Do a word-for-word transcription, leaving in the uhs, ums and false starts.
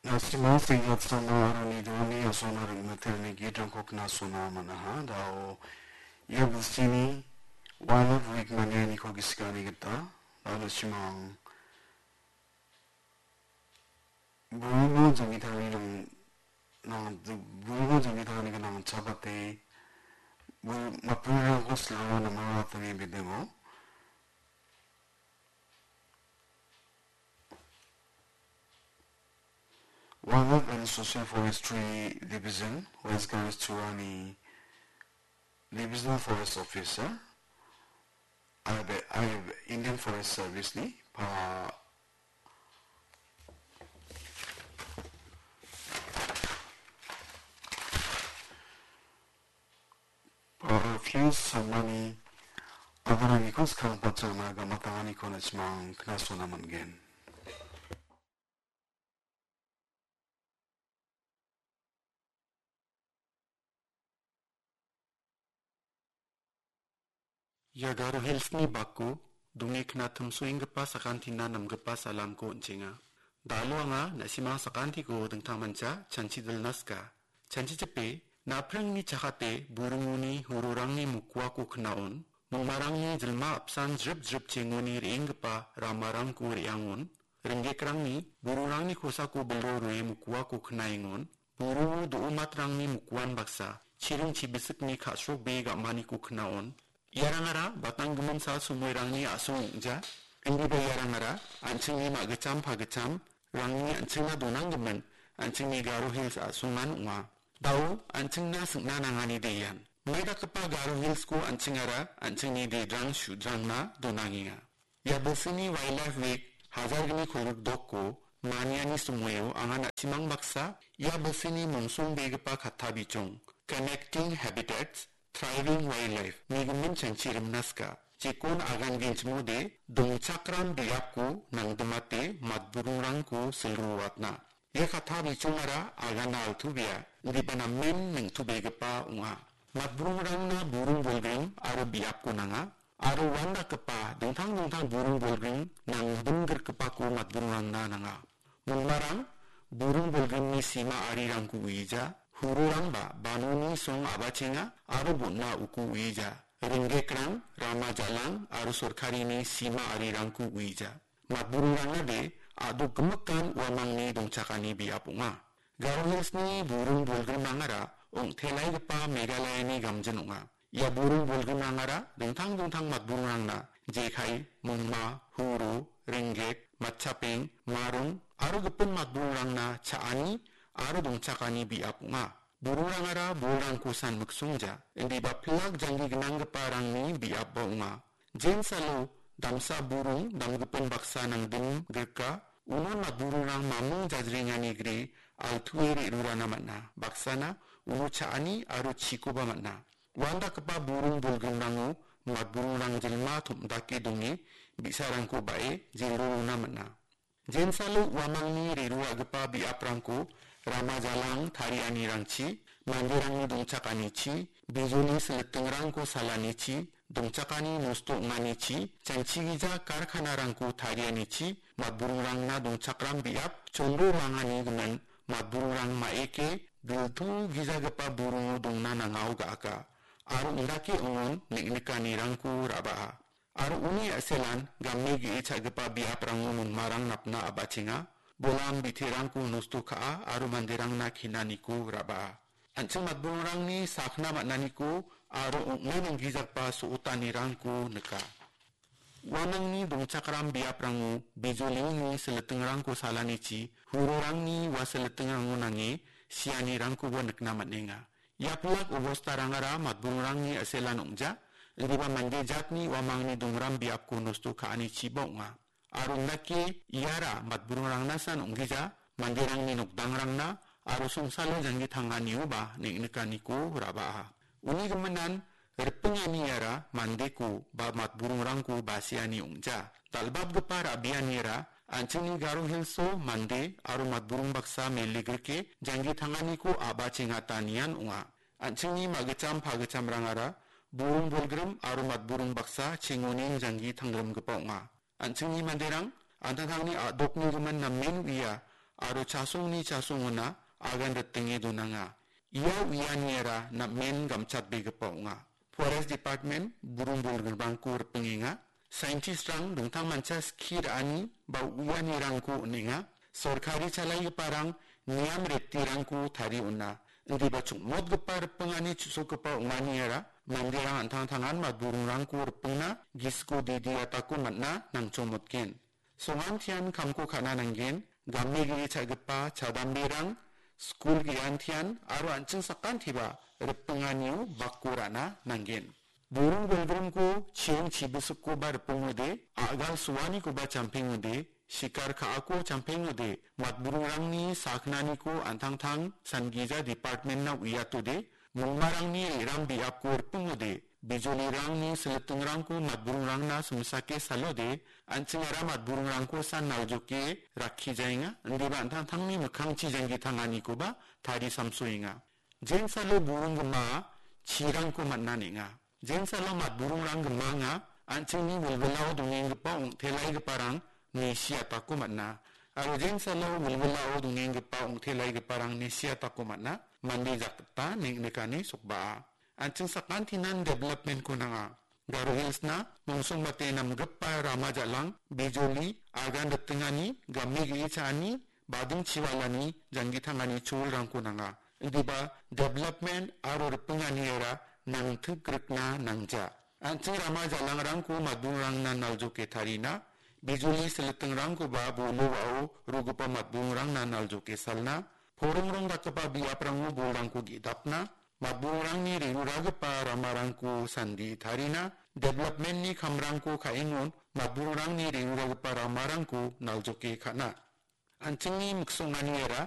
Na·simang senggatsama aro nidoni asongna ring·mate ine gitrangko knasona man·aha. Dao ia bilsini Wildlife Week manianiko gisikani gita, dao na·simang buringo jangitani nang-, nang-, buringo jangitani gnang chabate bu-, matburirangko silrangna namao atani bidingo. Wildlife and Social Forestry Division, West Garo Churani Divisional Forest Officer, I have, I have Indian Forest Service ni pa-, pa-, Fuse Sharmani agananiko skang pachana gamatanganiko na·simang knasona man·gen. Ia Garo Hills-ni bako dongekna timsoenggipa sakantina namgipa salamko on·chenga. Dalo anga na·simang sakantiko dingtangmancha chanchidilna sika. Chanchichipe, napringni chakate buringoni hurorangni mokuako knaon, mongmarangni jilma apsan jrip jrip chengoni re·enggipa ramarangko re·angon, ringgekrangni bururangni kosako bilo rue mokuako knaengon, buruo do·omatrangni mokuan baksa, chiring chibisikni ka·srokbe ga·maniko knaon. Iarangara batanggimin sal somoirangni a·song ong·ja, indiba iarangara an·chingni ma·gitcham pagitcham rangni an·chingna donanggimin an·chingni Garo Hills a·songan ong·a. Dao an·chingna sing·na nangani de ian. Maidakgipa Garo Hills-ko an·chingara an·chingni dedrang sudrangna donangenga. Ia bilsini Wildlife Week hajar gni kolgrikdokko maniani somoio anga na·simang baksa ia bilsini mongsongbegipa katta bijong, Connecting Habitats, Thriving Wildlife, nigimin chanchirimna sika. Jekon agan genchimode dongchakram biapko nangdimate matburingrangko silruatna. Ia katta bijongara agana altu bia, indiba namen neng·tobegipa ong·a. Matburingrangna buring bolgrim aro biapko nanga, aro uandakgipa dingtang dingtang buring bolgrim nangdimgrikgipako matburingrangna nanga. Mongmarang buring bolgrimni sima arirangko uija, hururangba banoni song a·bachenga aro bon·a uko uija. Ringgekrang, rama jalang aro sorkarini sima arirangko uija. Matburingrangade a·dok gimikan uamangni dongchakani biap ong·a. Garo Hills-ni buring bolgrimrangara ong·telaigipa Meghalayani gamjin ong·a. Ia buring bolgrimrangara dingtang dingtang matburingrangna, jekai, mongma, huro, ringgek, matchapeng, marong aro gipin matburingrangna cha·ani aro dongchakani biap ong·a. Buringrangara bolrangko san miksongja, indiba pilak janggi gnanggiparangni biapba ong·a. Jensalo damsa buring damgipin baksa nangdimgrika, uno matburingrang mamung jajrengani gre altue re·rurana man·a. Baksana uno cha·ani aro chikoba man·a. Uandakgipa buring bolgrimrango matburingrang jilma tom·dake donge bi·sarangko ba·e jilrorona man·a. Jensalo uamangni re·roagipa biaprangko rama jalang tarianirangchi, manderangni dongchakanichi, bijoli silitingrangko salanichi, dongchakani nosto ong·anichi, janchigija karkanarangko tarianichi, matburingrangna dongchakram biap chonro rangani gimin matburingrang maeke diltu gijagipa buringo dongna nangao ga·aka. Aro indake ong·on neng·nikanirangko ra·baa. Aro uni a·selan game ge·e cha·gipa biaprango mongmarang napna a·bachenga, bolam biterangko nosto ka·a aro manderangna kenaniko ra·baa. An·ching matburingrangni sakna man·aniko aro ong·na nanggijagipa so·otanirangko nika. Uamangni dongchakram biaprango bijolini silitingrangko salanichi, hurorangni ua silitingrango nange sianirangkoba nikna man·enga. Ia pilak obostarangara matburingrangni a·selan ong·ja, indiba mande jatni uamangni dongram biapko nosto ka·anichiba ong·a. Aro indake iara matburingrangnasan ong·gija, manderangni nokdangrangna aro songsalo janggi tanganioba neng·nikaniko ra·baa. Uni giminan ripengani iara mandeko ba matburingrangko basiani ong·ja. Dal·batgipa ra·bianiara an·chingni Garo Hills-o mande aro matburing baksa mele grike janggi tanganiko a·bachengata nian ong·a. An·chingni ma·gitcham pagitchamrangara buring bolgrim aro matburing baksa chengonin janggi tangrimgipa ong·a. An·chingni manderang an·tangtangni a·dokni gimin namen uia aro chasongni chasongona agan ritinge donanga. Ia uianiara namen gamchatbegipa ong·a. Forest Department buring bolgrimrangko ripengenga. Scientistrang dingtang mancha skie ra·ani ba uianirangko on·enga. Sorkari chalaigiparang niam retirangko tarie on·a. Indiba chongmotgipa ripengani chu·sokgipa ong·aniara manderang an·tangtangan matburingrangko ripengna gisiko didi atako man·a nangchongmotgen. Songantian kamko ka·na nanggen, game ge·e cha·gipa chadamberang, skul ge·antian aro an·ching sakantiba ripenganio bako ra·na nanggen. Buring bolgrimko chiring chibisikoba ripengode, a·gal suanikoba champengode, sikar ka·ako champengode, matburingrangni saknaniko an·tangtang sangija department-na uiatode, mongmarangni re·rang biapko ripengode, bijolirangni silitingrangko matburingrangna simsake salode, an·chingara matburingrangko san naljoke rakkijaenga, indiba an·tangtangni mikkangchi janggi tanganikoba tari samsoenga. Jensalo buring gimaa chirangko man·a neng·a. Jensalo matburingrang gimanga an·chingni wilwilao dongenggipa ong·telaigiparang nesiatako man·a. Aro jensalo wilwilao dongenggipa ong·telaigiparang nesiatako man·a. Mande jakgita neng·nikani sokba'a. An·ching sakantinan development-ko nanga. Garo Hills-na mongsongbate namgipa rama jalang, bijoli, agan ritingani, game ge·e cha·ani, bading chiwalani, janggi tangani cholrangko nanga. Indiba development aro ripenganiara nangtikrikna nangja. An·ching rama jalangrangko matburingrangna naljoke tarina, bijoli silitingrangkoba bolo wa·o rogipa matburingrangna naljoke salna, porongrong dakgipa biaprango bolrangko ge·dapna, matburingrangni re·ruragipa ramarangko sandie tarina, development-ni kamrangko ka·engon matburingrangni re·ruragipa ramarangko naljoke ka·na. An·chingni miksonganiara